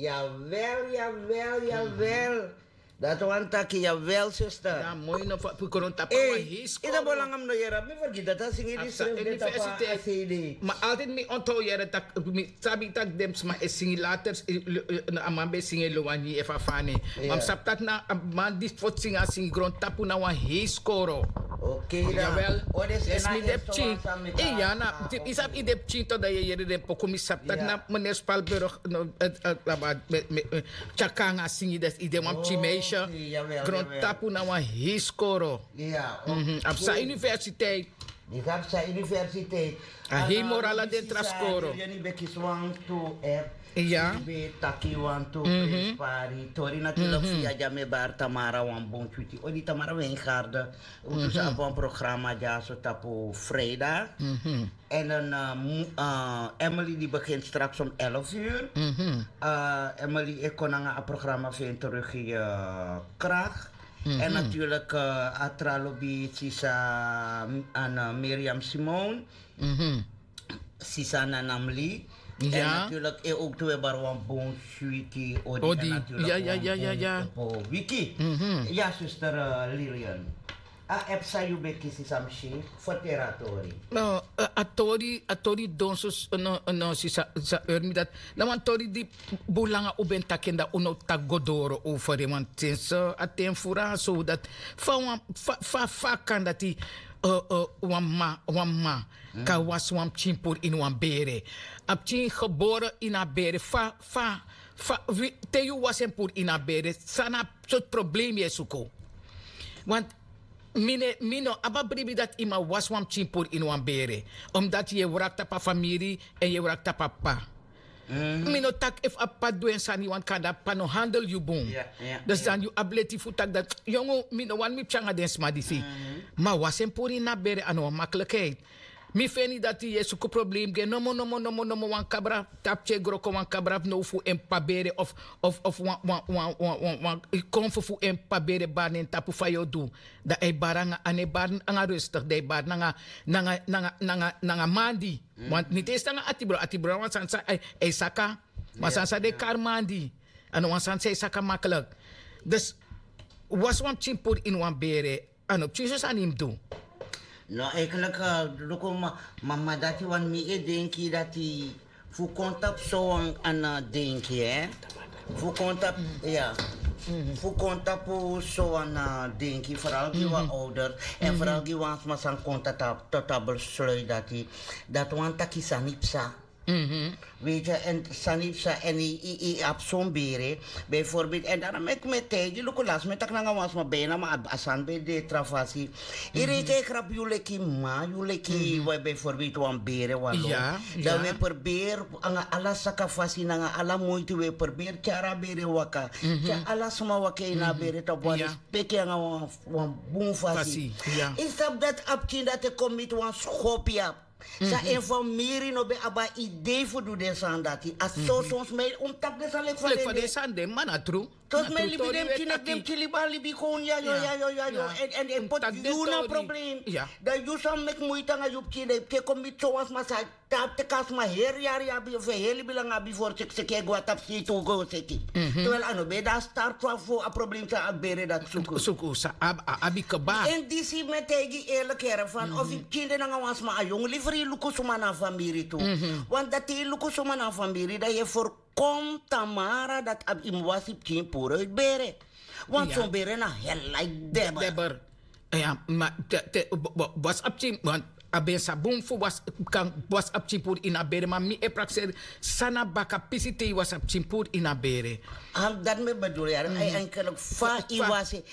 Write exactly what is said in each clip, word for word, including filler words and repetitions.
Yawel, yawel, yawel. Dati wani taki yawel, sister. Dan moi no fa fu grontapu na wan hei skoro. Yu no bo langa mi no yere, mi fergiti dati a singi di srefi de tapu a cd. Ma altid mi onto yere tak mi sabi tak den sma e singi later. A man ben singi e lowani efu a fani. Ma mi sabi tak na a man di foti singi a singi grontapu na wan hei skoro. Yawel. Yes, mi de pikin. Iya, na yu sabi yu de pikin to dan yu e yere den poku, mi sabi tak na meneer Spalberg, Tyakanga singi, dus yu de wan pikin meisje. Grontapu na wan hei skoro. A psa universiteit. Yu sabi psa universiteit. A hei moro ala den tra skoro. Yu ben kisi wantu app. Yu ben taki wantu prinspari tori, naturlik fu yu a dya mi e bari Tamara wan bun switi odi. Tamara Wijngaarden. Un tu sa abi wan programma dyaso tapu vrijdag. En dan Emily di begint straks om elf uur. Emily e kon nanga a programma fu en terug in je kracht. En natuurlijk a tra lobi sisa, an Miriam Simone, sisa Nanamli. En natuurlijk e ook tu e bari wan bun switi odi. En natuurlijk wan bun wiki. Ya, zuster Lilian. A app san yu ben kisi, san mi si, ferteri a tori. No, a tori, a tori don so, no, no, si sa, sa eur mi dati. Na wan tori di bun langa un ben taki en, dan un no taki go doro over en, want since a ten furu so dati fa wan, fa, fa, fa kan dati, wan ma, wan ma kan wasi wan pikin puru ini wan bere. A pikin gebore ini a bere, fa, fa, fa, te yu wasi en puru ini a bere, san na sortu problema yu e suku? Want mi no, mi no abi a bribi dati yu man wasi wan pikin puru ini wan bere, omdat yu e wraki tapu a famiri en yu e wraki tapu a p'pa. Mi no taki efu a p'pa du en sani, want kande a p'pa no handel yu bun. Dus dan yu abi leti fu taki dati yongu, mi no wani mi pikin nanga den sma disi. Ma wasi en puru ini a bere a no wan makkelijkheid. Mi feni dati yu e suku problema gi en nomo, nomo, nomo, nomo. Wan kabra tapu pikin e gro kon wan kabra now fu en p'pa bere of, of, of wan, wan, wan, wan, wan, wan konfo fu en p'pa bere bari na en tapu, fa yu o du? Dan a e bari nanga, a no e bari nanga rustig, dan a e bari nanga, nanga, nanga, nanga, nanga mandi. Want niti e si nanga atibron, atibron na wan sani san a e saka. Wan sani san den e kari mandi. A no wan sani san e saka makkelijk. Dus wasi wan pikin puru ini wan bere, a no pikin so sani yu mus du. No, eigenlijk, luku, ma, ma, ma dati wan mi e denki dati fu kon tapu so wan ana denki, hè. Fu kon tapu, ya. Fu kon tapu so wan ana denki, vooral gi wan ouders en vooral gi wan sma san kon tapu, tot a besluit dati, dati wan taki sani psa. Weet je, en sani psa en yu, yu, yu abi son bere, bijvoorbeeld, en daarom meki mi e taigi, luku, lasi mi e taki nanga wan sma bijna, ma a, a sani ben de tra fasi. Yu reken e grab yu leki ma, yu leki, bijvoorbeeld, wan bere wan lo. Dan wi e probeer nanga ala saka fasi, nanga ala moiti wi e probeer tyari a bere waka. Tyari ala sma waka ini a bere tapu wan respeki nanga wan, wan bun fasi. Yu sabi dati a pikin dati e kon miti wan skopu ya. San en famiri no ben abi a idee fu du den sani dati. A so son sma e, un mus taki den sani leki fa den sani de, ma na tru. Son sma e libi den pikin, den pikin libi a libi kon yayo, yayo, yayo. En, en, en poti yu na problem. Dan yu sa meki muiti nanga yu pikin, dan yu pikin kon miti so wan sma san tapu teki a sma heri yari abi, of heri libi langa abi, fu seki seki e go na tapu seti, un go seki. Terwijl a no ben de a start fu a problem san a bere dati suku. Suku, san a abi kba. En disi mi e taigi yu eerlijk, heri, van of yu pikin de nanga wan sma, a yongu, liever yu luku suma na a famiri tu. Want dati yu luku suma na a famiri, dan yu e voorkom Tamara dati abi, yu mus wasi pikin puru uit bere. Want son bere na hel like debber. Debber. Ya, ma te, te, bo, bo, wasi a pikin, want a ben sa bun fu wasi, kan wasi a pikin puru ini a bere, ma mi e prakseri san na baka pisi te yu wasi a pikin puru ini a bere. Dati mi e bedoel, ya, eigenlijk fa yu wasi,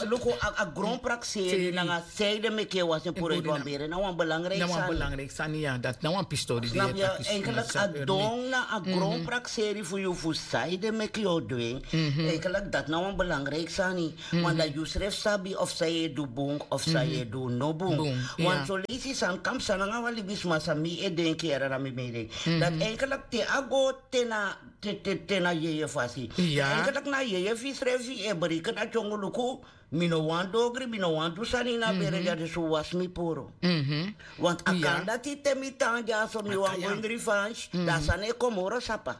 luku, a, a gronprakseri nanga san ede meki yu wasi en puru ini wan bere, na wan belangrijk sani. Na wan belangrijk sani, ya, dati na wan pisi tori di yu e taki. Eigenlijk a don na a gronprakseri fu yu fu san ede meki yu o du en. Eigenlijk dati na wan belangrijk sani. Want dan yu srefi sabi of san yu e du bun of san yu e du no bun. Want son leisi sani kan psa nanga wan libisma san mi e denki, heri, na mi mening. Dati eigenlijk te a go te na, te, te, te na yeye fasi. Eigenlijk na yeye fu yu srefi e bereken dati yongu, luku, mi no wani dogri, mi no wani du sani ini a bere dya, dus un wasi mi puru. Want a kan dati te mi tan dyaso, mi wani go ini revanche, dan a sani e kon moro sapa.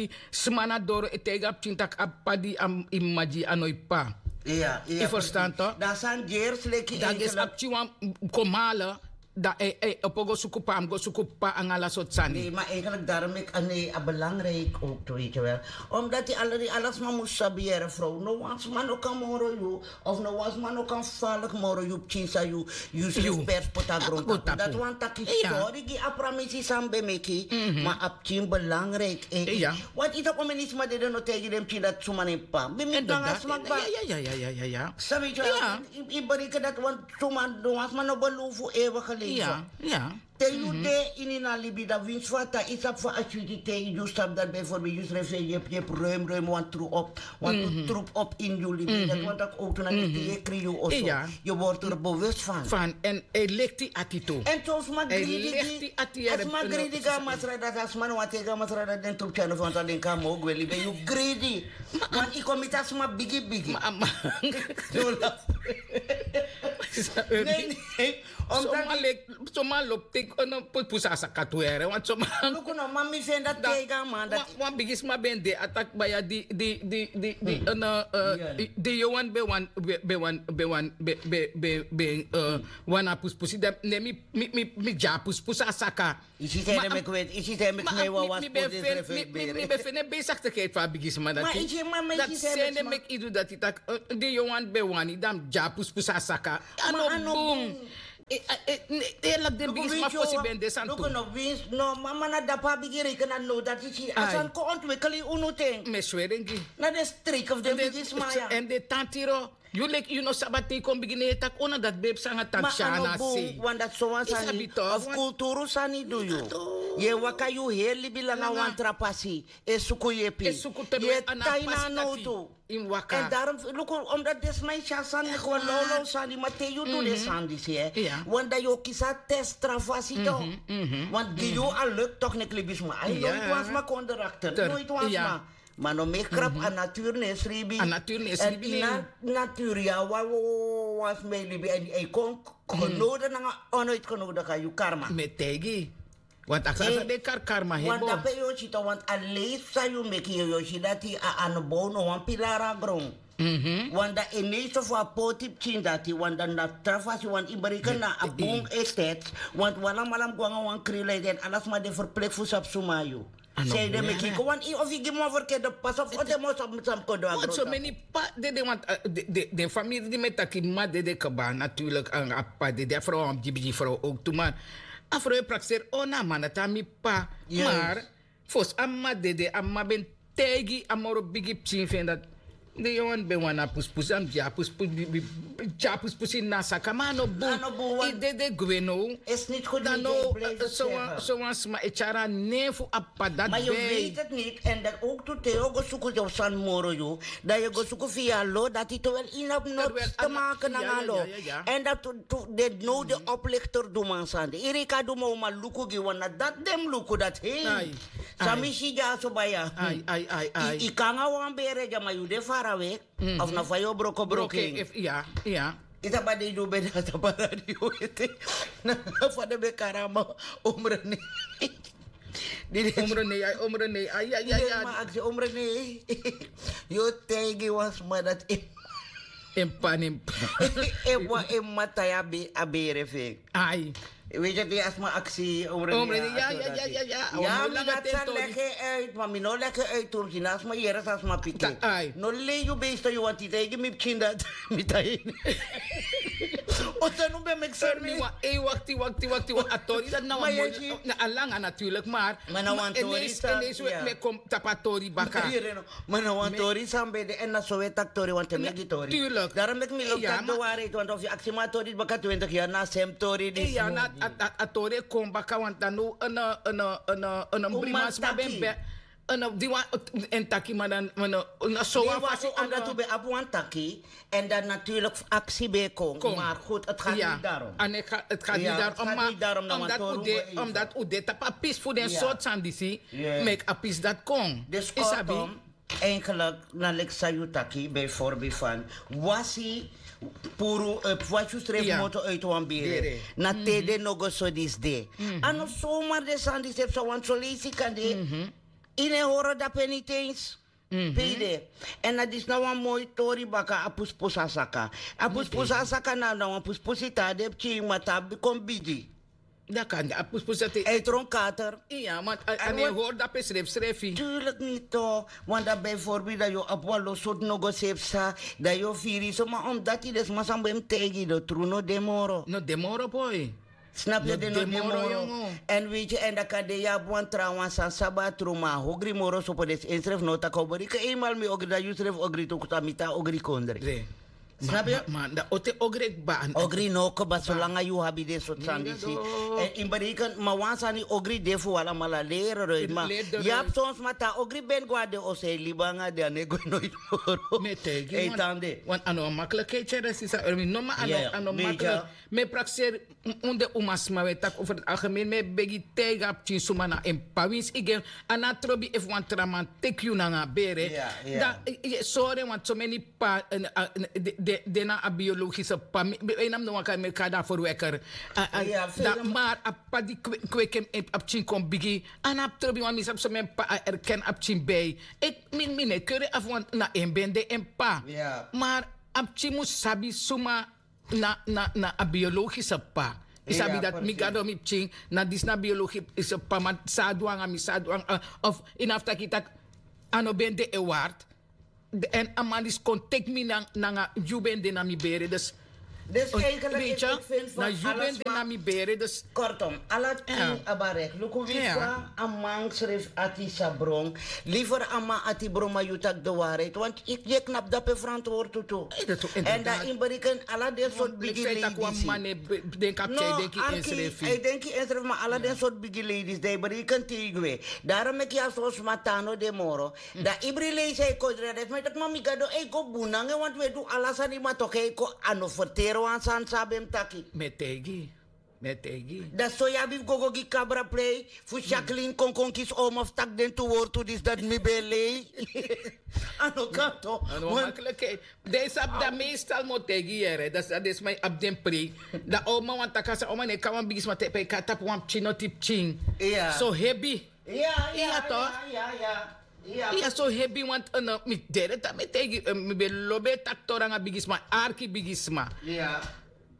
dati sma na doro e taigi a pikin tak' a p'pa di a mama gi a no e p'pa. Yu ferstan to? Dan a pikin wan kon male, dan e opo go suku p'pa a mus go suku p'pa nanga ala sortu sani. Ma eigenlik darom meki a nei a belangriki ouk tu weti wel. Omdati ala sma mus sabi yere frow no wan sma no kan moro yu. Of no wan sma no kan faliki moro yu pikin san yu srefi pers poti na grontapu. Dati wani taki sori gi a pramisi san mi ben meki. Ma a pikin belangriki en. Wantu yu tapu a meni sma dede no taigi den pikin dati suma na en p'pa ben miti nanga a sma kba. Sabi yu yu bereken dati wan suma no wan sma no belofu ewe geleven. Te yu de ini na libi dan winsi fu a tan yu sabi fa a switi te yu sabi dati bijvoorbeeld yu srefi e yepi yepi ruim ruim wan tru op wan tru trup op ini yu libi dati wan taki owtu na leti yu e kri yu oso. Yu wortu er bewust fan fan en e lekti ati tu. En so sma gridi gi a sma gridi gi a masra dati a sma no wan tegi a masra dati den trup tyanu fan so a den kan mo gwe libi yu gridi. Want yu kon miti a sma bigi bigi. Soma lobi teki no pusu a saka tu here want soma. Luku no man mi feni dati teiga a man dati. Wan bigi sma ben de a taki baya di di di di di di yowan ben wan ben wan ben wan ben ben ben ben wan a pusupusu dan ne mi mi mi mi gi a pusupusu a saka. Isi san ede meki weti isi san ede meki mi e wawan spotu den srefi e bere. Mi ben feni en beisaktikheid fu a bigi sma dati. Dati san ede meki yu du dati taki di yowan ben wani dan mi gi a pusupusu a saka. A no bun. Elak den bigisma fosi ben de sani tu. No mama na dapu a bigi reiki na no dati si a sani kon ontwikkel ini unu ten. Mi e sweri en gi na den streke fu den bigisma ya. Èn den tan tiro yu leki yu no sabi a te yu kon bigin na yu e taki ona dati ben psa nanga taki si a na sei. Wan dati sowan sani of kulturu sani du yu. Yu e waka yu heri libi langa wan tra pasi, e suku yepi. Yu e tai na a nowtu. Èn darom luku, omdati den sma e si a sani leki wan lawlaw sani, ma te yu du den sani disi, wani dan yu o kisi a test tra fasi tu. Wani gi yu a luk tok neki libisma ai noiti wan sma kon drakter noiti wan sma. Ma no meki krapu a naturu no e sribi. Èn ini a naturu ya wan wan sma e libi èn yu e kon genode nanga onoiti genode kan yu karma. Mi e taigi yu. Wantu a sani san den e kari karma heri. Wantu dape yu o si tan wantu a leisi san yu meki yu o si dati a anobow no wan pilari a gron. Wantu dan e neisi fu a poti pikin dati wantu dan na tra fasi wantu yu bereken na a bun e teti. Wantu wan alamala mus go nanga wan krin leki den ala sma de ferpleki fu sabi suma na yu. Sei den meki yu kon wan yu ofu yu gi mi wan ferkeri den pasi ofu o de mi o sabi san mus kon du a gron. Someni p'pa dede wantu den famiri di mi e taki mama dede kba naturlik nanga a p'pa dede a frow a wan bigibigi frow owktu man. A frow e prakseri o na a man dati a mi p'pa. Mar fosi a mama dede a mama ben taigi a moro bigi pikin fu en dati den yongu ben wani a puspusi a mus gi a puspusi tyari a puspusi ini a saka ma a no bun. Yu dede gwe now. Dan now sowan sma e tyari a nen fu a p'pa dati. Ma yu weti niti èn dati owktu te yu o go suku yu sani moro yu dan yu e go suku fu yu a lo dati towel yu no abi noti te make nanga a lo. Èn dati den now den oplikter du man sani de iri yu kan du man wi man luku gi wan na dati den mus luku dati hei. San mi si dyaso baya. Yu kon nanga wan bere dya ma yu de farawe. Of na fa yu o broko broko en. Yu sabi a dei di un ben de a sabi a radio ete na fa den ben kari a man. Omro nei. Di den omro nei ai omro nei ai ai ai ai. Aksi omro nei. Yu o taigi wan sma dati en p'pa nen. En mama tai a bere fu en. Ai. Weti a di a sma aksi omro nei. Ya mi dati sa leki en uit ma mi no leki en uit tu mi si na a sma yere san a sma piki. No lei yu beesto yu wanti taigi mi pikin dati. Mi taigi. O san un ben meki seri mi. Ei wakti wakti wakti wakti a tori dati na wan moi na a langa naturlik mar. Ma na wan tori san mi e kon tapu a tori baka. Ma na wan tori san ben de èn na so un e taki tori wanten mi e gi tori. Darom meki mi lobi taki de wari eti wanten ofu yu aksi mi a tori disi baka twintik yari na a sem tori disi. A tori e kon baka wanten now. Unu briman sma ben ben unu di wan en taki ma dan na so wan fasi. Omdati un ben abi wan taki. Èn dan naturlik aksi ben e kon mar goed eti gati niti darom. Eti gati niti darom ma omdati un de tapu a pisi fu den sortu sani disi meki a pisi dati kon. Yu sabi. Enkelik na leki san yu taki bijvorbeeld fan wasi puru wasi yu srefi moto uiti wan bere. Na te den no go so disi de. A no somar den sani disi e psa wantu soleisi kan de. Yu no e horo dape niti ens. Pe yu de. Èn na disi na wan moi tori baka a puspusu a saka. A puspusu a saka na wan puspusu yu tan a de pikin ma tan a kon bigi. Dan kan de a puspusu dati. Èn yu tron kater. Iya ma a no e hori dape srefsrefi. Turlik niti. Wan dan bijvorbeeld dan yu o abi wan lo sortu no go se psa. Dan yu o firi yu so ma omdati den sma san ben mus taigi yu den tru no de moro. No de moro boi. Snapu yu den no de moro. Èn weiti yu èn dan kan de yu abi wan trawan san sabi a tru ma a hogri moro sopo den si ensrefi no o taki a o bori ken einmal mi ogri dan yu srefi ogri tu kutu a miti a ogri kondre. Snapu yu? Ma dan ote ogri e kba an ogri no kba solanga yu abi den sortu sani disi. Èn ini bereken ma wan sani ogri de fu wi alamala leri roiti ma yu abi son sma tan ogri ben go na den oso e libi nanga den a no e go noiti moro. Mi e taigi yu wan a no wan makliki e tyere sisa mi no ma a no makliki. Mi e prakseri un den umasma un e taki over algemeen mi e begi taigi a pikin suma na en p'pa winsi yu gi en. A no a trobi efu wan tra man teki yu nanga a bere. Dan yu e sori en wantu someni p'pa den na a biologische p'pa. Ena mi no wan kan mi e kari dan ferweker. Dan mar a p'pa di kweki en a pikin kon bigi a no abi trobi wan mi sabi someni p'pa a erken a pikin bei. Mi no e keri afu wantu na en ben de en p'pa. Mar a pikin mus sabi suma na a biologische p'pa. Yu sabi dati mi gado mi pikin na disi na biologische p'pa ma san a du nanga mi san a du nanga of yu no abi taki yu taki a no ben de en ward. Èn a man disi kon teki mi nanga yu ben de na mi bere dus Dus eigenlijk, ik vind van alles, maar kortom, ala ting abarek. Luku wi fa a man sref ati sabron. Liever a man ati bron, maar yu tak de waarheid. Want ik je knap dape verantwoord tu. En dan in bereken ala den soort bigi ladies. No, arki, hij denk je insref, maar ala den soort bigi ladies die bereken tegen we. Daarom ik ja so smatano de moro. Dan ibri leisi e kon dre, dat mi taki mami gado e kon bun nanga en, want we du ala sani, ma toch e kon a no ferteri wan sani san a ben mus taki. Mi e taigi, mi e taigi. Dan so yu abi fu go go gi kabra plei fu Jacqueline kon kon kisi oma fu taki den tu wortu disi, dati mi ben lei. A no kan tok. A no makkelijk. Den sabi dan meestal mi o taigi yu yere, dan den sma e abi den prei. Dan oma wani taki a san, oma no e kon na wan bigisma, te pe yu kon na tapu wan pikin noti pikin so hebi. Iya, iya, iya, iya. Iya, so hebi, want mi dede taki mi e taigi, mi ben lobi e taki tori nanga bigisma, arki bigisma.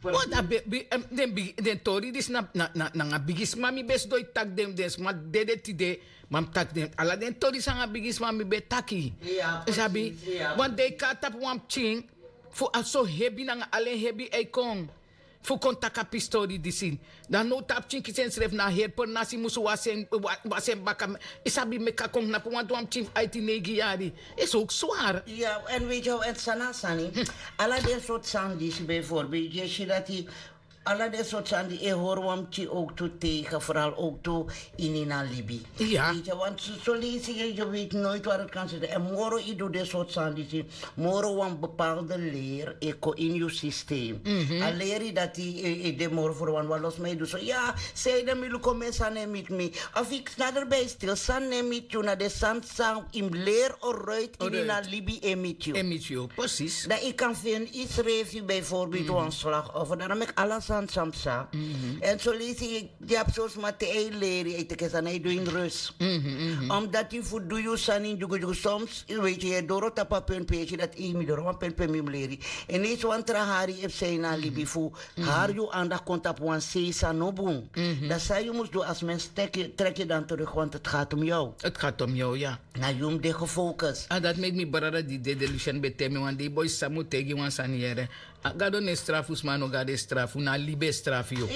Want a ben, den tori disi na, nanga bigisma mi ben sidon e taki den, den sma dede tide, ma mi taki den, ala den tori san nanga bigisma mi ben taki. Yu sabi, want den e kon na tapu wan pikin fu a so hebi nanga ala en hebi e kon. Fu kon taki a pistori disi. Dan now te a pikin kisi ensrefi na heri pernasi musu wasi en, wasi en baka. Yu sabi, meki a kon knapu wantu wan pikin fu aiti neigi yari. Is ook zwaar. Ya, en weet je, en san na a sani, ala den sortu sani disi, bijvoorbeeld, yu e si dati ala den sortu sani di e hori wan pikin ook tu tegen, vooral ook tu ini na libi. Weet je, want so, so leisi yu, yu weet nooit waar het kan zitten. En moro yu du den sortu sani disi, moro wan bepaalde leer e kon in yu systeem. A leri dati e, e de moro fu wan, wan los mi e du so. Ya, sanede mi luku, mi sani e miti mi. Of yu nader bij stil, sani e miti yu, na den sani san yu mus leri oruit ini na libi e miti yu. E miti yu, precies. Dan yu kan feni yusrefi bijvoorbeeld wan slachtoffer. Daarom meki ala sani san psa. En so leisi yu abi so sma te yu e leri, yu e teki sani, yu e du en in rust. Omdat yu fu du yu sani in dyugudyugu. Soms, yu weet, yu e doro tapu a punt pe yu e si dati, ei, mi doro wan punt pe mi mus leri. En ineens wan tra hari e psa ini a libi fu hari yu aandacht kon tapu wan sei san no bun. Dan san yu mus du als mens, trek yu, trek yu dan terug, want het gaat om jou. Het gaat om jou, ja. Na yu mus de gefocus. A dati meki mi brada di dede, Lucian, ben taigi mi wan dei: boi, san mi o taigi yu wan sani yere. A Gado no e strafu sma, no, Gado e strafu, na libi e strafu yu.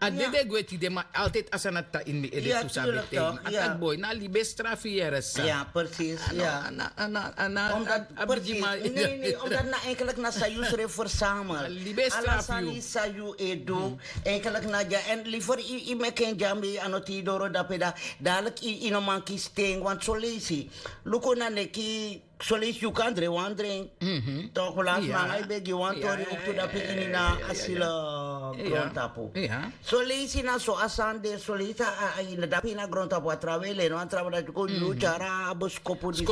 A dede gwe tide, ma altijd a sani dati tan ini mi ede tu, san a ben taigi mi. A taki: boi, na libi e strafu yu yere, sa. Ya, precies. A no, a na, a na, a na, a bigi man. Nee, nee, omdat na eigenlijk na san yu srefi verzamel. Ala sani san yu e du, eigenlijk na dya. En liever yu, yu meki en dya, mi a no te yu doro dape, dan dadelijk yu, yu no man kisi ten, want so leisi. Luku na neki, so leisi yu kan dringi wan dringi. Toch, last man, a yu ben gi wan tori ook tu dape ini na asilo grontapu. So leisi na so a sani de, so leisi a, a, a ini dape ini a grontapu, a trawan e leni wan trawan, dati kon yu tyari a boskopu disi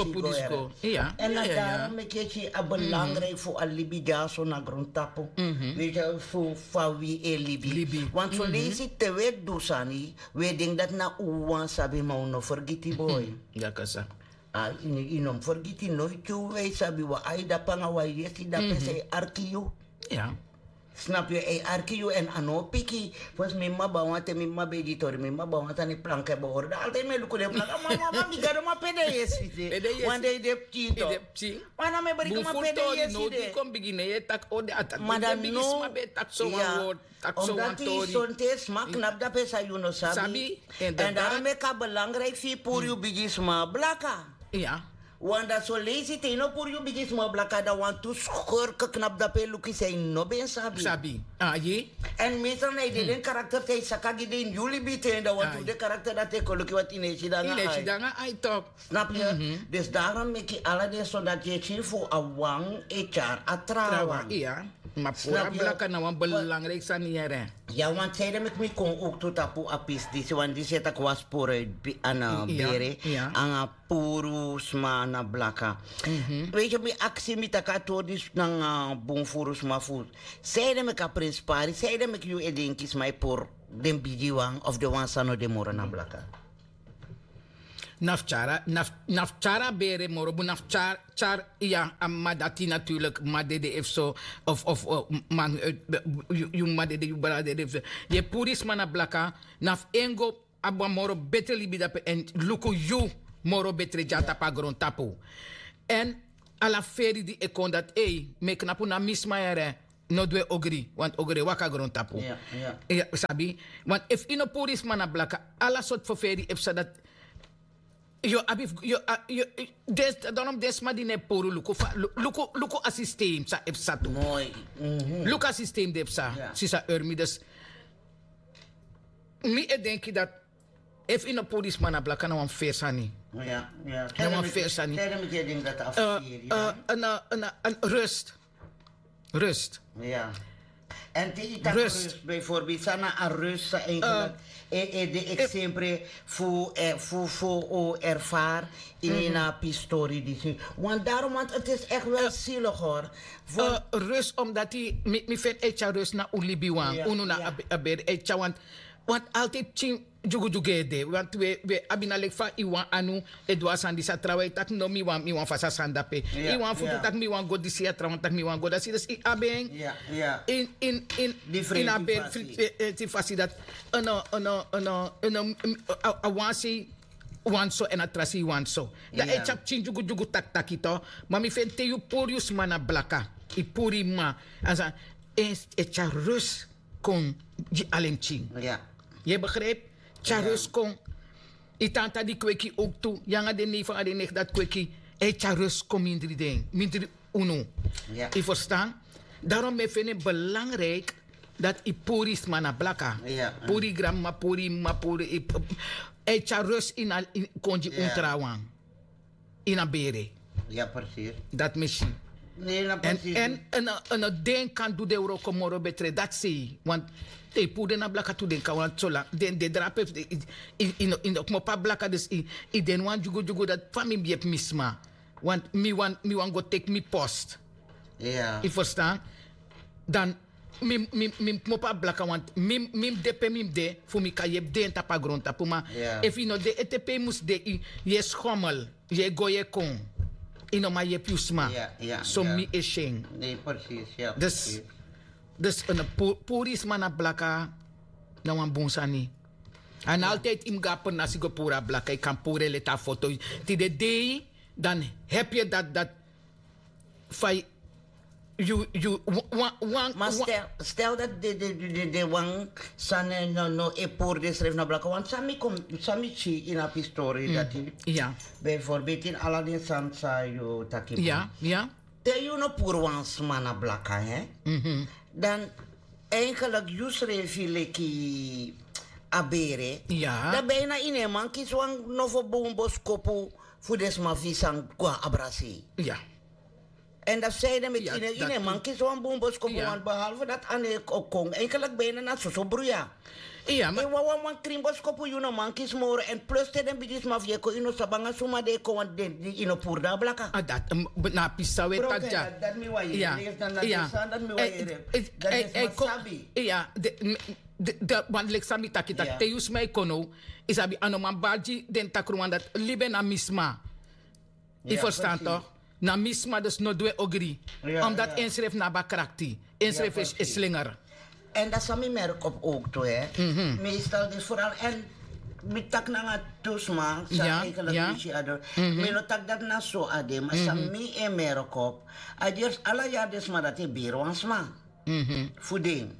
go. En na daarom meki yu e si a belangrijk fu a libi dyaso na grontapu. Weet je, fu fa wi e libi. Want so leisi te wi e du sani, wi e denki dati na un wan sabi, ma un no fergiti, boi. A, yu no mus fergiti, noiti yu e sabi wan ai dape nanga wan yesi dape san e arki yu. Snap yu, e arki yu, en a no piki. Fosi mi mama ben wani, te mi mama ben e gi tori, mi mama ben wani sani, planka e behoren. Dan altijd mi e luku den planka. Mama, mama, mi Gado, ma pe den yesi de? Wan dei den pikin tu. Wan na mi e bereken, ma pe den yesi de? Kon bigin, yu e taki, o, den a taki. Ma den bigisma ben e taki so wan word. Omdat yu sonte sma knapu dape san yu no sabi. En daarom meki a belangrijk fu yu puru yu bigisma blaka. Want dan so leisi te yu no puru yu bigisma blaka, dan wantu skurken knapu dape e luku san yu no ben sabi. Sabi. Aye. En meestal na yu de den karakter san yu saka gi den ini yu libi ten, dan wantu den karakter dati e kon luku, want yu no e si den nanga ai. Snap yu? Dus daarom meki ala den sani dati yu e si fu a wan e tyari a trawan. Ma puru a blaka na wan belangrijk sani yere. Ya, want sanede meki mi kon ook tu tapu a pisi disi, want disi e taki wan sporu uit bi-, a na bere, nanga puru sma na blaka. Weet je, mi aksi, mi taki a tori disi nanga bun furu sma fu. Sanede meki a prenspari, sanede meki yu e denki sma e puru den bigiwan of den wan san no de moro na blaka. Na fu tyari, na fu, na fu tyari a bere moro bun, na fu tyari, tyari, ya, a mama dati natuurlijk, mama dede efu so, of, of, eh, man, eh, yu, yu mama dede, yu brada dede efu so. Yu e puru sma na blaka, na fu en go abi wan moro betre libi dape, en luku yu moro betre dya tapu a grontapu. En ala feri di e kon dati, ei, mi e knapu na mi sma yere. No du en ogri, want ogri e waka grontapu. Yu sabi? Want efu yu no puru yu sma na blaka, ala sortu ferferi e psa dati. Yu abi fu yu, den, darom den sma di no e puru luku fa, luku a sistem san e psa tu. Luku a sistem di e psa, sisa Urmi. Dus mi e denki dati efu yu no puru yu sma na blaka, na wan feri sani. Na wan feri sani. Rust. Rust. En te yu taki rust, bijvoorbeeld san na a rust san eigenlijk e de eksempre fu fu fu erfari ini na pistori disi. Want daarom, want het is echt wel zielig hoor. Rust omdat mi vind e tyari rust na un libi wan unu na a beri e tyari want want altijd tyari dyugudyugu ede want we abi na leki fa yu wan anu e du a sani disi a trawan e taki no mi wan mi wan fasi a sani dape. Yu wan futu taki mi wan go disi a trawan taki mi wan go dasi dus yu abi en in in in in a ben friti fasi dati. Ono ono ono ono a wan sei wan so en a tra sei wan so dan e tyari pikin dyugudyugu taki taki to. Ma mi feni te yu puru yu sma na blaka yu puru yu mama a sani e tyari rus kon gi alen pikin. Yu e begrijpi? Tyari rus kon. Yu tanta di kweki owktu yu nanga den nei fu nanga den neki dati kweki e tyari rus kon mindri den mindri unu. Yu ferstan? Darom mi e feni en belangriki dati yu puru yu sma na blaka. Puru yu granmama puru yu mama puru yu e tyari rus ini a kon gi un trawan. Ini a bere. Dati mi si. Èn den kan du den wroko moro betre dati sei want te yu puru den na blaka tu den kan wani sola den de drape yu no kmopo a blaka dus yu de ini wan dyugudyugu dati fa mi mus yepi mi sma. Want mi wani go teki mi post. Yu ferstan? Dan mi mus kmopo a blaka want mi mus de pe mi mus de fu mi kan yepi den tapu a grontapu ma efu yu no de ete pe yu mus de yu e skomel yu e go yu e kon. Yu no man yepi yu sma. So mi e si en. Dus puru yu sma na blaka na wan bun sani. Èn altidi yu mus go na pernasi go puru a blaka yu kan puru en leti a foto. Tide dei dan hebi yu dati dati fa yu yu wan ma stel dati den wan sani no e puru densrefi na blaka want san mi kon san mi si ini a pistori dati bijvorbeit ini ala den sani san yu taki ya ya te yu no puru wan sma na blaka dan eigenlik yu srefi leki a bere dan bijna yu no e man kisi wan nofo bun boskopu fu den sma fu yu san go na abra sei. Èn dati san ede meki yu no e man kisi wan bun boskopu want behalve dati a no e kon eigenlik bijna na soso bruya. Yu wawan wan krin boskopu yu no man kisi moro èn plus te den bigisma fu yu e kon yu no sabi nanga suma den e kon want den yu no puru den na blaka. Na a pisi san wi e taki dya. Dati mi wan yere dati na den sani dati mi wan yere dati den sma sabi. Wan leki san mi taki taki te yu sma e kon now yu sabi a no man bari gi den takruwan dati libi en na mi sma. Yu ferstan tok? Na mi sma dus no du en ogri. Omdati ensrefi no abi a krakti. Ensrefi e slinger. Èn dati san mi merki op owktu. Meestal disi foral èn mi taki nanga tu sma san eigenlik mi si a doro. Mi no taki dati na so a de ma san mi e merki op a di ala yari den sma dati e beri wan sma fu den.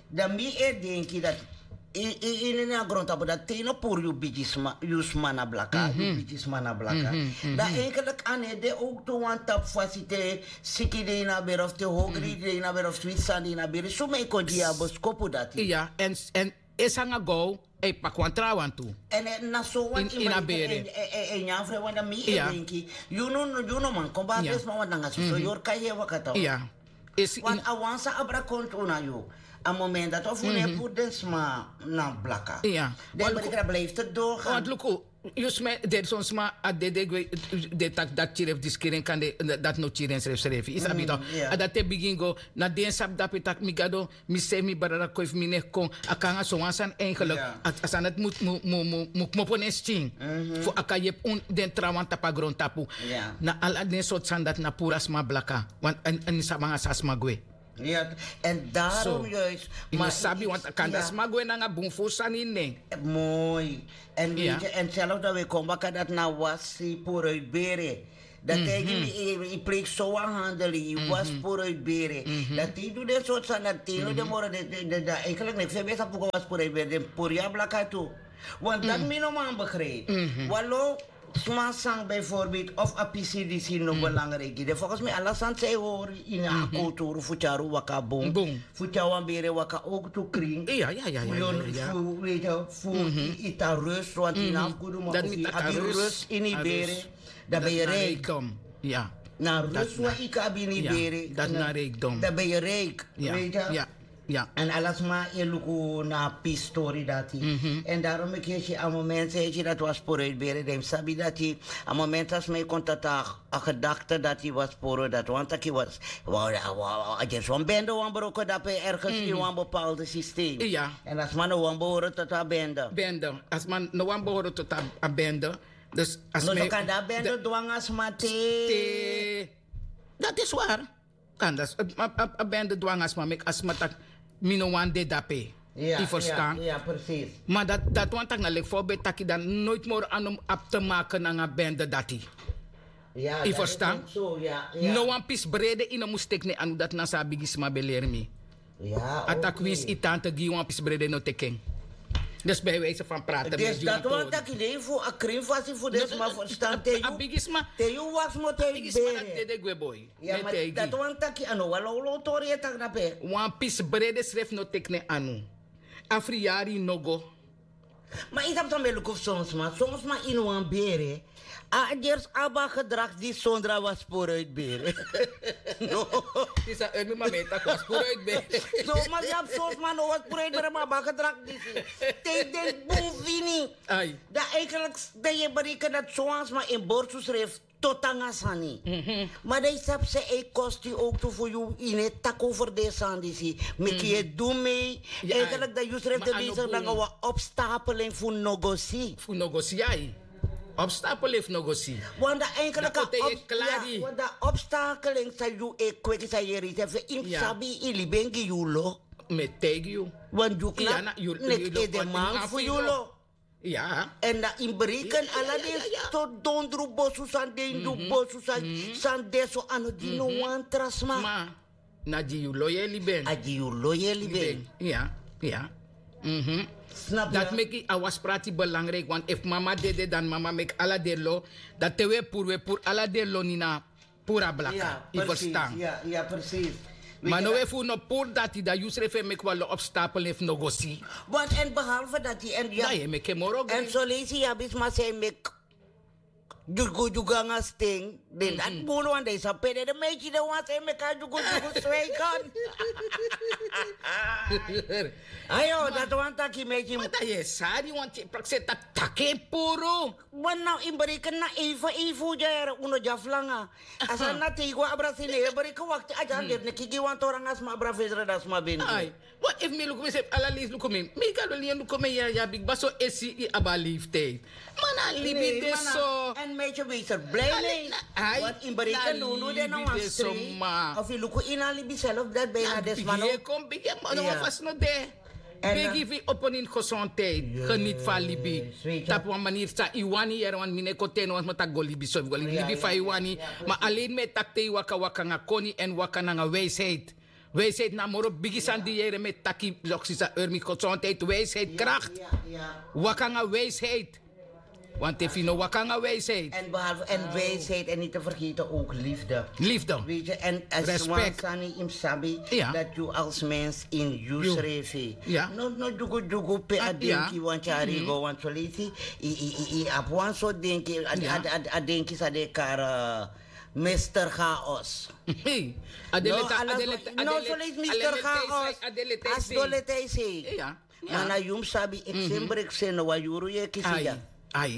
Dan mi e denki dati ini ini a grontapu dati te yu no puru yu bigisma yu sma na blaka yu bigisma na blaka. Dan eigenlik a no e de owktu wan tapu fasi te siki de ini a bere of te hogri de ini a bere of switi sani de ini a bere suma e kon gi yu a boskopu dati. Èn esi nanga gow e paki wan trawan tu. Èn na so wan ini a bere. En nyan fre wan dan mi e denki yu no man kon bari den sma wan nanga soso yorka yu e waka taw. Esi wan a wan san abra kontu na yu a moment dati of un no e puru den sma na blaka. Den blikra blijfi te doorgaan. Want luku yu sma den son sma a dede gwe den taki dati kiri efu diskiri en kan dati no kiri ensrefi srefi yu sabi tok? A dati e bigin go na den sabi dape taki mi gado mi sefi mi brada kon efu mi neki kon a kon nanga sowan sani eigenlik. A sani dati mu kmopo na en skin fu a kan yepi un den trawan tapu a grontapu. Na ala den sortu sani dati na puru a sma blaka. Èn yu sabi nanga san a sma gwe. Ya, en daarom juist. Yu no sabi want kan dati sma gwe nanga bun furu sani ini nen. Moi. En weet je, en zelf dan we kon baka dati na wasi puru uit bere. Dan tegen mi, yu pleeg so wan handel, yu was puru uit bere. Dan te yu du den sort sani dan te yu no den moro den dan eigenlijk niks en ben sa puka was puru uit bere den puru ya blaka tu. Want dat mi no man begrijp. Walo sma sang bijvoorbeeld of a pisi disi no belangrijk ide volgens mi ala sani san yu hori ini a kulturu fu tyari un waka bun, fu tyari wan bere waka ook tu kring. Fu yu fu yu ita rust want yu na fu gudu man fu yu abi rust ini yu bere. Dan ben yu rijk. Na rust wan yu kan abi ini yu bere. Dan ben yu rijk. Weet je. En ala sma e luku na a pistori dati. En daarom meki yu si a moment san yu si dati wan sporo yu bere dan yu mus sabi dati a moment san sma e kon tata a gedakte dati wan sporo dati wan taki wan a gersi wan bende wan broko dape ergens ini wan bepaalde systeem. En a sma no wan behoro tot a bende. Bende a sma no wan behoro tot a bende. Dus a sma e kon tata a bende dwanga sma te. Dati is wari. Kan dati a bende dwanga sma meki a sma taki mi no wani de dape. Yu ferstan? Ma dati wani taki na leki fa un ben taki dan noit moro anu abi te maken nanga bende dati. Yu ferstan? No wan pisi brede yu no mus teki ne anu dati na so a bigisma ben leri mi. A taki winsi yu tante gi yu wan pisi brede no teki en. Dus bijwijse fan prate mi e gi wan tori. Dati wani taki nei fu a krin fasi fu den sma ferstan te yu a bigisma te yu wasi mo te yu bere. Dede gwe boi. Dati wani taki a no wan lawlaw tori e taki dape. Wan pisi brede srefi no teki ne anu. A friyari no go. Ma yu sabi san mi e luku fu son sma son sma ini wan bere. A gersi abi a gedrag disi sondra wan sporo yu bere. No. Disi a ermi ma mi e taki wan sporo yu bere. So ma yu abi son sma no wan sporo yu bere ma abi a gedrag disi. Te yu denki bun fini. Dan eigenlijk dan yu e bereken dati so wan sma en borsu srefi. Tot nanga sani. Ma dan yu sabi san e kosti yu owktu fu yu yu no e taki over den sani disi meki yu e du mei. Eigenlijk dan yu srefi de bezig nanga wan opstapeling fu no go si. Fu no go si ya. Opstapeling fu no go si. Want dan eigenlijk a opstapeling san yu e kweki san yu e reisi efu yu mus sabi yu libi en gi yu lo. Mi e taigi yu. Want yu klari neti edeman fu yu lo. Ya. Èn na ini breken ala den stori dondru bosu san den yu bosu san de so a no gi no wan tra sma. Na gi yu lo yu e libi en. A gi yu lo yu e libi en. Ya. Snapu dati meki a wasi prati belangriki wantu efu mama dede dan mama meki ala den lo. Dati te wi e puru wi e puru ala den lo ni na puru a blaka yu ferstan? Ma no we fu no puru dati dan yu srefi e meki wan lo opstapel efu no go si. Èn behalfe dati èn yu e meki en moro gri. Èn soleisi yu abi sma san e meki dyugu dyugu nanga sten. Den dati bulu wan dan yu sabi pe den de meiti den wan san e meki a dyugu dyugu swei kon. Ayo dati wan taki meiti. Mata yu e sari wan tye prakseri taki taki e puru. Wan na ini bereken na even even un dyari un no dyari flanga. A sani na te yu go abra sini yu e bereken wakti a dyari deri neki gi wan tori nanga sma abra fesre dan sma ben. Wan efu mi luku mi sefi ala leisi luku mi mi gado lien luku mi ya yu abi kba so esi yu abi a leiftiyd. Ma na libi de so. Èn meiti wees er blij mei. Want ini bereken no no de na wan strei. Of yu luku ini a libi self dati bijna den sma no. Yu e kon bigi en man no wan fasi no de. Begi fu yu opo ini gezondheid. Geniti fu a libi tapu wan maniri san yu wani yere wan mi no e kon teni wan sma tak' go libi so fu go libi libi fa yu wani. Ma alen mi e taki te yu waka waka nanga koni èn waka nanga wijsheid. Wijsheid na a moro bigi sani di yere mi e taki loksi san eri mi gezondheid wijsheid krakti. Waka nanga wijsheid. Want efu yu no waka nanga wijsheid. Èn behalve èn wijsheid èn niti fergeten ouk lifde. Lifde. Weti yu èn a swan sani yu mus sabi dati yu als mens ini yu srefi no no dyugu dyugu pe a denki yu wani tyari yu go want soleisi yu abi wan sortu denki a denki san den e kari. Mester chaos. No soleisi mester chaos. A si don leti a yu sei. Ma na yu mus sabi eksembri ekseni na wan yuru yu e kisi ya.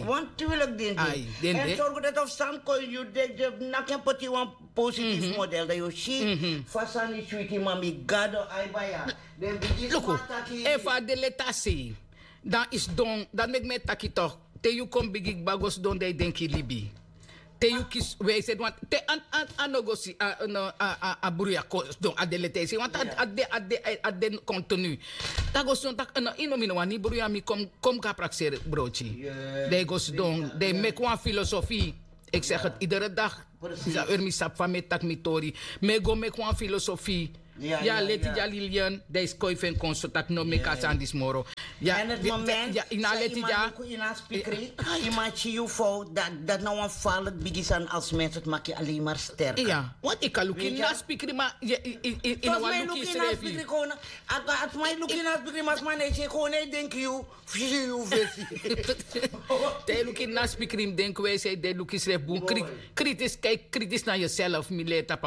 Wan tuwiliki den de. Èn sorgu dati of sani kon yu de de naki en poti wan positifu model dan yu o si fa sani switi ma mi gado ai baya. Den bigin sma taki efu a de leti a sei dan yu sidon dati meki mi e taki tok'. Te yu kon bigi kba go sidon dan yu denki yu libi. te yu kisi wijsheid want te a no go si a bruya kon sidon a de leti a e si want a de a de kontinu. Dan go sidon tak' no ino mi no wani bruya mi kon kon mi go a prakseri broti. Dan e go sidon dan e meki wan filosofi. Eki segi idere dag. Disi a ori mi sabi fa mi e taki mi tori. Mi e go meki wan filosofi. Ya leti dya lilian dan e skoifi en kon so tak' no meki a sani disi moro. Ya ini a leti dya. Yu man si yu fowtu dati na wan falik bigi sani alsi mense tu maki yu alenmar sterk. Iya. Want yu kan luku ini a spikri ma yu na wan luku yu srefi. Ati man yu luku ini a spikri ma sma na yu si en kon na yu denki yu fisi yu fesi. Te yu luku ini a spikri mi denki wi e si yu de luku yu srefi bun. Kritis kan yu kritis na yuself mi leri tapu.